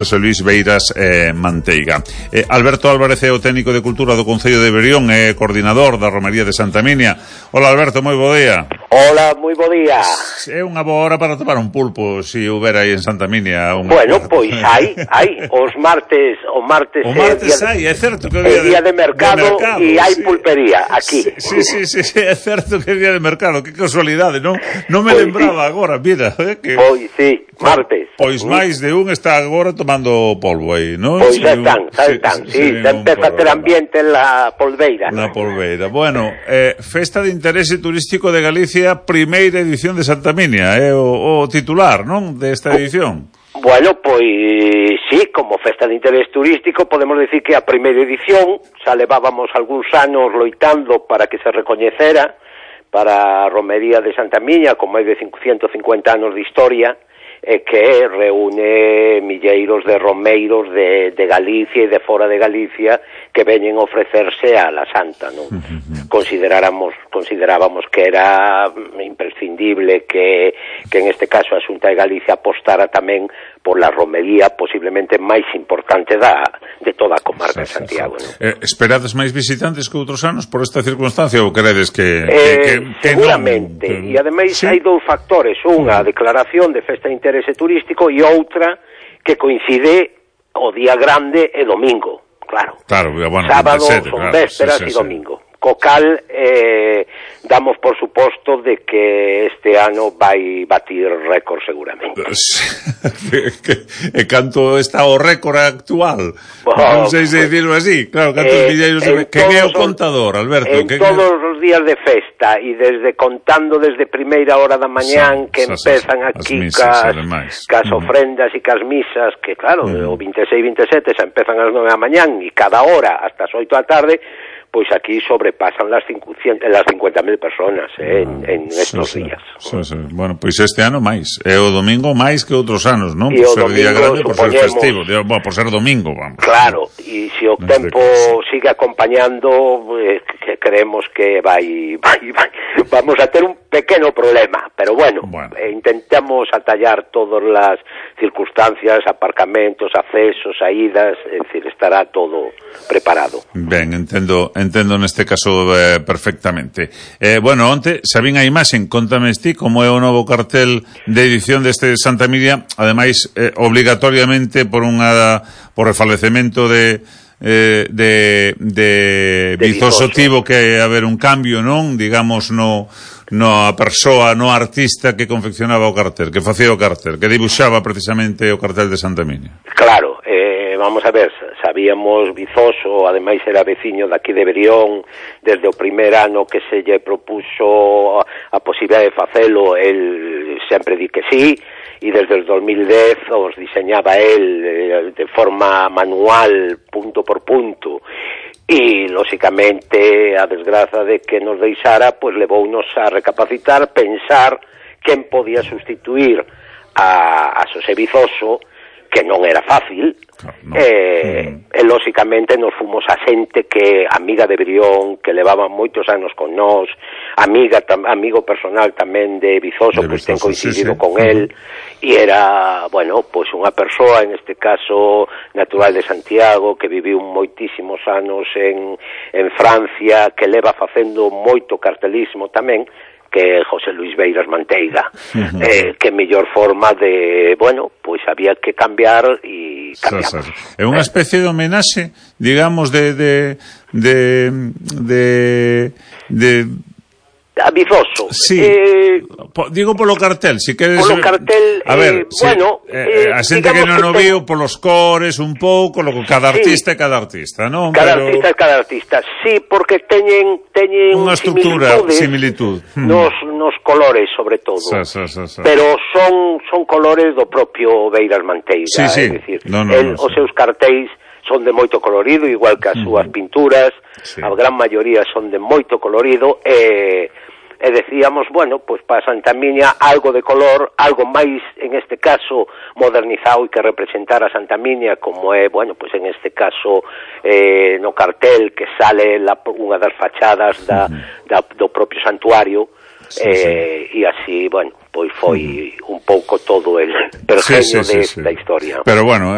José Luís Beiras Manteiga. Alberto Álvarez é o técnico de Cultura do Concello de Berrión e coordinador da Romería de Santa Minia. Hola Alberto, moi bo día. Hola, moi bo día. É unha boa hora para tomar un pulpo, se houbera aí en Santa Minia. Bueno, pois hai, os martes, o martes hai, é certo que é día de mercado e hai pulpería aquí. Sí, é certo que é día de mercado, que casualidade, non me lembraba agora, mira, que pois sí, martes. Pois máis de un está agora tomando polvo aí, non? Pois xa están, sí, empeza a ter ambiente en la polveira. Na polveira. Bueno, Festa de Interese Turístico de Galicia, primeira edición de Santa Minia, é o titular, non, desta edición? Bueno, pois sí, como Festa de Interés Turístico podemos decir que a primeira edición xa levábamos algúns anos loitando para que se recoñecera para a Romería de Santa Minia con máis de 150 anos de historia e que reúne milleiros de romeiros de Galicia e de fora de Galicia que veñen ofrecerse a la Santa, non? Considerábamos que era imprescindible que en este caso a Xunta de Galicia apostara tamén por la romería posiblemente máis importante de toda a comarca de Santiago, non? Esperades máis visitantes que outros anos por esta circunstancia ou credes que seguramente, e ademais hai dous factores, unha, a declaración de Festa de Interese Turístico e outra que coincide o día grande e domingo, claro, bueno, sábado, son vésperas e domingo. Co cal damos por suposto de que este ano vai batir récord seguramente. E canto está o récord actual? Non sei se dicirlo así. Claro, cantos milleiros... Quen é o contador, Alberto? En todos os días de festa e contando desde primeira hora da mañán que empezan aquí cas ofrendas e cas misas, que claro, o 26 e 27 xa empezan ás 9 da mañán e cada hora hasta as 8 da tarde, pois aquí sobrepasan las 50.000 personas en estos días. Bueno, pois este ano máis. É o domingo máis que outros anos, non? Por ser día grande, por ser festivo, por ser domingo, vamos. Claro, e se o tempo sigue acompañando, creemos que vamos a ter un pequeno problema, pero bueno. Intentamos atallar todas as circunstancias, aparcamentos, accesos, saídas, é dicir, estará todo preparado. Ben, entendo neste caso perfectamente. Bueno, onte sabín a imaxen, contame ti como é o novo cartel de edición deste Santa Minia, ademais obligatoriamente por refalecemento de Vizoso tivo que haber un cambio, non? Digamos, a persoa, no artista que confeccionaba o cartel, que facía o cartel, que dibuixaba precisamente o cartel de Santa Minia. Claro, vamos a ver, sabíamos Vizoso, ademais era veciño daqui de Berrión, desde o primer ano que se lle propuxo a posibilidade de facelo, el sempre di que sí, e desde o 2010 os diseñaba el de forma manual, punto por punto, e lóxicamente a desgraza de que nos deixara, pois levounos a recapacitar, pensar quen podía sustituir a Xosé Vizoso, que non era fácil, e lóxicamente nos fomos a xente que amiga de Brión, que levaba moitos anos con nós, amigo personal tamén de Vizoso, pois ten coincidido con el, e era, bueno, pois unha persoa, en este caso natural de Santiago, que viviu moitísimos anos en Francia, que leva facendo moito cartelismo tamén, que José Luís Beiras Manteiga, que mellor forma de, bueno, pois había que cambiar e cambiamos. É unha especie de homenaxe, digamos, de a Vizoso. Sí. Digo polo cartel, si queres. Polo cartel, a ver, bueno, a xente que non o viu polos cores un pouco, logo cada artista é cada artista, non? Cada artista, sí, porque teñen unha estructura, similitud nos colores, sobre todo. Pero son colores do propio Beiras Manteiga, é dicir, os seus cartéis son de moito colorido, igual que as súas pinturas, a gran maioría son de moito colorido, e decíamos, bueno, pois para Santa Minia algo de color, algo máis, en este caso, modernizado e que representara a Santa Minia, como é, bueno, pois en este caso no cartel que sale unha das fachadas do propio santuario, e así, bueno, pois foi un pouco todo el pergenio da historia. Pero bueno,